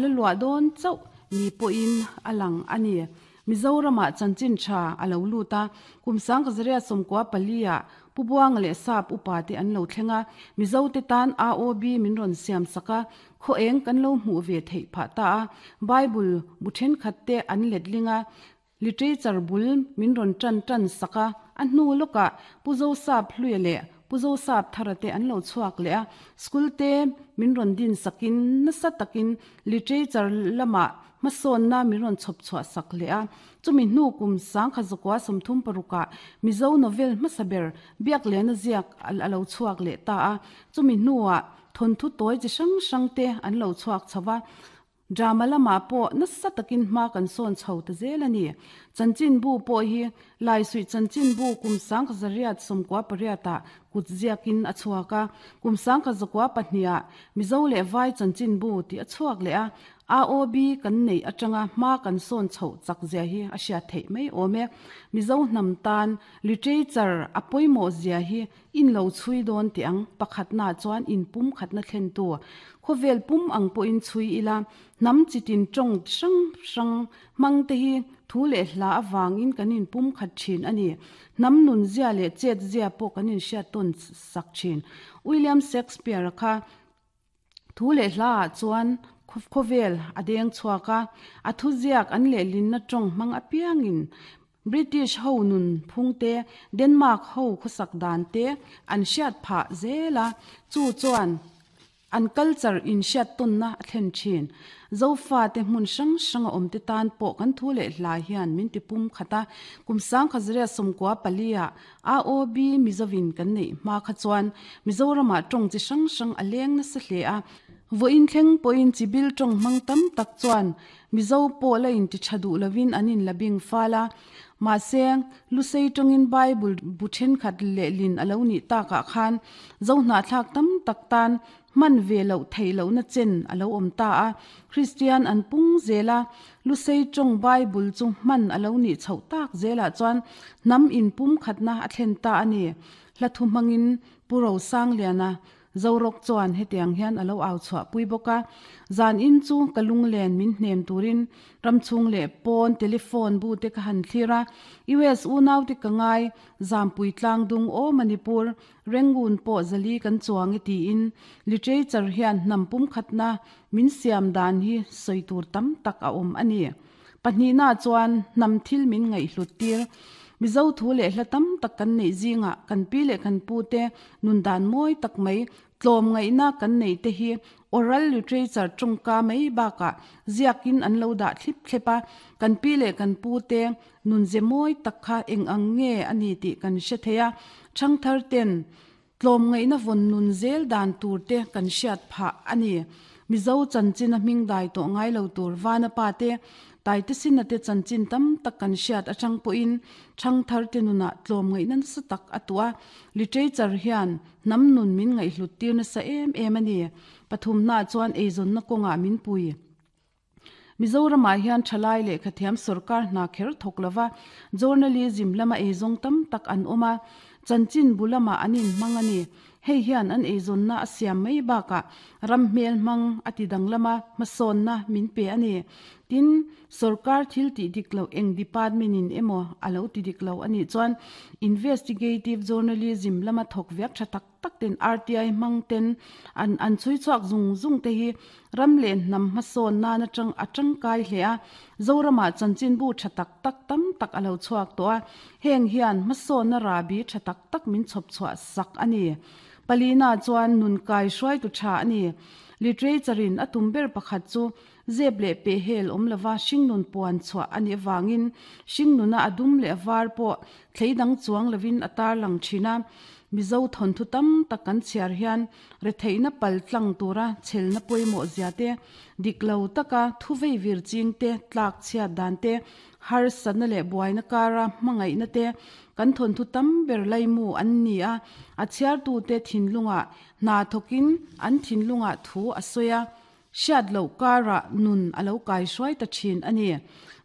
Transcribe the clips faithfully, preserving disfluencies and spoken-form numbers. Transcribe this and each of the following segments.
La luah dawn chauh ni pawhin a lang a ni. Mizoramah chanchin tha a lo lut a, kum sangkazariat sawmkua pali-ah Pu Buanga leh Sap upa te an lo thleng a, Mizote tan A O B min rawn siam sak a, khaw eng kan lo hmuh ve theih phah ta a, Bible bu thenkhat te an letling a, literature bul min rawn tan tan sak a, a hnu lawkah Pu Zosap Hluia leh Pu Zosap Thara te an lo chhuak leh a, school te min rawn din sakin nasa takin literature lamah hmasawnna min rawn chhawp chhuah sak leh a, chumi hnu kum sangkha zakua sawmthum parukah Mizo novel hmasa ber Biaklena ziak a lo chhuak leh ta a, chumi hnuah thawnthu tawi chi hrang hrang te an lo chhuak chho va. Drama lamah pawh nasa takin hma kan sawn chho ta zel a ni. Chanchinbu pawh hi Laisuih Chanchinbu kum sangkha zariat sawmkua pariatah kut ziakin a chhuak a, kum sangkha zakua pahniha Mizo leh Vai Chanchinbu tih a chhuak leh a, A O B kan neih atanga hma kan sawn chhoh chak zia hi a hriat theih mai awm e. Mizo hnam tan literature a pawimawh zia hi in lo chhui dawn teh ang. Pakhatnaah chuan inpum khatna thlentu. Khawvel pum ang pawhin chhui ila, hnam chitin tawng hrang hrang hmang te hi thu leh hla avangin kan inpum khat thin a ni. Hnam nun zia leh chet zia pawh kan inhriat tawn sak thin. William Shakespeare-a kha thu leh hlaah chuan khawvel a deng chhuak a, a thuziak an lehlinna tawng hmang apiangin British ho nun phung te, Denmark ho khawsak dan te an hriat phah zel a, chu chuan an culture inhriat tawnna a thlen thin. Zofate hmun hrang hranga awm te tan pawh kan thu leh hla hian min ti pum khat a, kum sangkha zariat sawmkua pali-ah A O B Mizovin kan neih hma kha chuan Mizoramah tawng chi hrang hrang a leng nasa hle a, vawiin thleng pawhin chibil tawng hmang tam tak chuan Mizo pawh la inti tha duh lovin an inla bing fal a, mahse Lusei tawngin Bible bu thenkhat lehlin a lo nih takah khan Zohnahthlak tam tak tan hman ve loh theih lohna chen a lo awm ta a, Kristian an pung zel a, Lusei tawng Bible chu hman a lo nih chhoh tak zelah chuan hnam inpum khatna a thlen ta a ni. Hla thu hmangin Pu Rosangliana Zorawk chuan hetiang hian a lo au chhuah pui bawk a, Zan in chu ka lunglen min hnem turin ramchhung leh pawn telephone bu te ka han thlir a, U S unaute ka ngai, Zampui tlangdung aw Manipur, Rangoon pawh zali kan chuang e tiin literature hian hnam pumkhatna min siam dan hi sawi tur tam tak a awm a ni. Pahnihna chuan hnam thil min ngaihhlut tir. Mizo thu leh hla tam tak kan neih zingah kan pi leh kan pu te nun dan mawi tak mai tlawm ngaihna kan neih te hi oral literature tawngka mai bakah ziakin an lo dah thlip thlep a, kan pi leh kan pu te nun ze mawi tak kha eng ang nge a ni tih kan hre thei a, thangthar ten tlawm ngaihna vawn nun zel dan tur te kan hriat phah a ni. Mizo chanchin a hming dai tawh ngai lo tur Vana pa te, Taite Sina te chanchin tam tak kan hriat atang pawhin thangthar te nunah tlawm ngaihna nasa tak a tuah a, literature hian hnam nun min ngaihhlut tir nasa em em a ni. Pathumnaah chuan eizawnna kawngah min pui. Mizoramah hian thalai lehkhathiam sorkar hna kher thawk lova journalism lama eizawng tam tak an awm a, chanchin bu lamah an inhmang a ni. Hei hian an eizawnna a siam mai bakah ram hmel hmang a ti danglam a, hmasawnna min pe a ni. Tin, sorkar thil tih dik loh eng department in emaw a lo ti dik lo a nih chuan investigative journalism lama thawk viak tha tak tak ten R T I hmang ten an an chhui chhuak zung zung te hi ram leh hnam hmasawn nan atang a tangkai hle a, Zoramah chanchinbu tha tak tak tam tak a lo chhuak tawh a, heng hian hmasawnna rabi tha tak tak min chhawp chhuah sak a ni. Palina chuan nun kai hruaitu tha a ni. Literature in a tum ber pakhat chu zep leh peh hel awm lova hringnun puan chhuah a nih avangin hringnuna a dum leh a var pawh thleidang chuang lovin a tarlang thin a, Mizo thawnthu tam tak kan chhiar hian retheihna pal tlang tura chhelna pawimawh zia te, dik lo taka thu vei vir ching te tlak chhiat dan te, harsatna leh buaina kara hmangaihna te kan thawnthu tam ber laimu an ni a, a chhiartute thinlungah hna thawkin an thinlungah thu a sawi a, hriat loh karah nun a lo kai hruai ta thin a ni.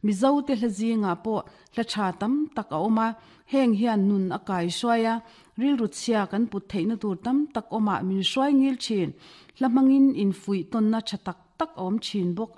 Mizote hla zingah pawh hla tha tam tak a awm a, heng hian nun a kai hruai a, rilru chhia kan put theihna tur tam tak awmah min hruai ngil thin. Hla hmangin infuih tawnna tha tak tak a awm thin bawk a ni.